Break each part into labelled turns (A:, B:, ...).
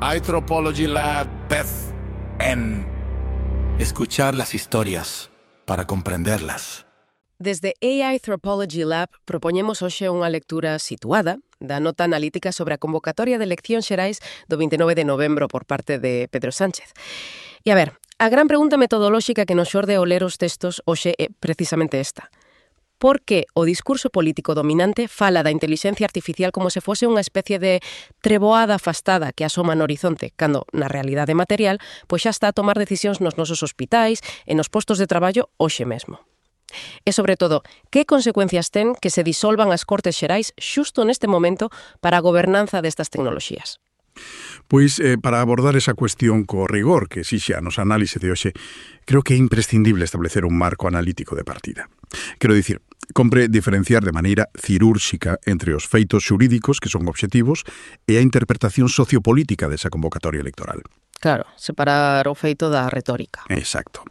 A: iTropology Lab Beth en escuchar las historias para comprenderlas.
B: Desde AI Anthropology Lab propoñemos hoxe unha lectura situada da nota analítica sobre a convocatoria de eleccións xerais do 29 de novembro por parte de Pedro Sánchez. E a ver, a gran pregunta metodolóxica que nos xorde ao ler os textos hoxe é precisamente esta. Por que o discurso político dominante fala da intelixencia artificial como se fose unha especie de treboada afastada que asoma no horizonte, cando, na realidade material, pois xa está a tomar decisións nos nosos hospitais e nos postos de traballo hoxe mesmo? E, sobre todo, que consecuencias ten que se disolvan as Cortes Xerais xusto neste momento para a gobernanza destas tecnoloxías?
C: Pois, para abordar esa cuestión co rigor que exixe a nosa análise de hoxe, creo que é imprescindible establecer un marco analítico de partida. Quero dicir, compre diferenciar de maneira cirúrxica entre os feitos xurídicos, que son obxectivos, e a interpretación sociopolítica desa convocatoria electoral.
B: Claro, separar o feito da retórica.
C: Exacto.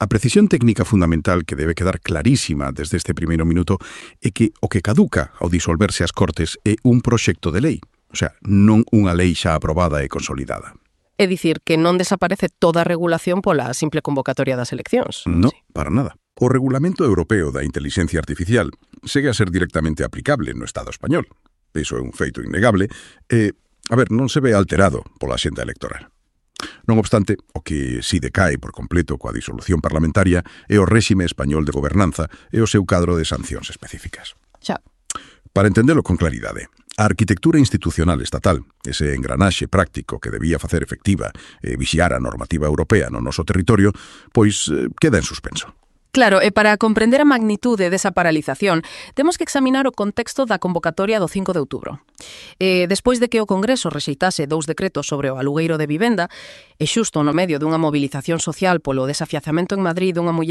C: A precisión técnica fundamental que debe quedar clarísima desde este primeiro minuto é que o que caduca ao disolverse as Cortes é un proxecto de lei, o sea, non unha lei xa aprobada e consolidada.
B: É dicir, que non desaparece toda a regulación pola simple convocatoria das eleccións.
C: No,
B: Sí.
C: para nada. O Regulamento Europeo da Intelixencia Artificial segue a ser directamente aplicable no Estado español. Iso é un feito innegable e, non se ve alterado pola xenda electoral. Non obstante, o que si decae por completo coa disolución parlamentaria é o réxime español de gobernanza e o seu cadro de sancións específicas.
B: Xa.
C: Para entendelo con claridade, a arquitectura institucional estatal, ese engranaxe práctico que debía facer efectiva e vixiar a normativa europea no noso territorio, pois queda en suspenso.
B: Claro, e para comprender a magnitude desa paralización, temos que examinar o contexto da convocatoria do 5 de outubro. Despois de que o Congreso rexeitase 2 decretos sobre o alugueiro de vivenda, e xusto no medio dunha movilización social polo desafiazamento en Madrid dunha muller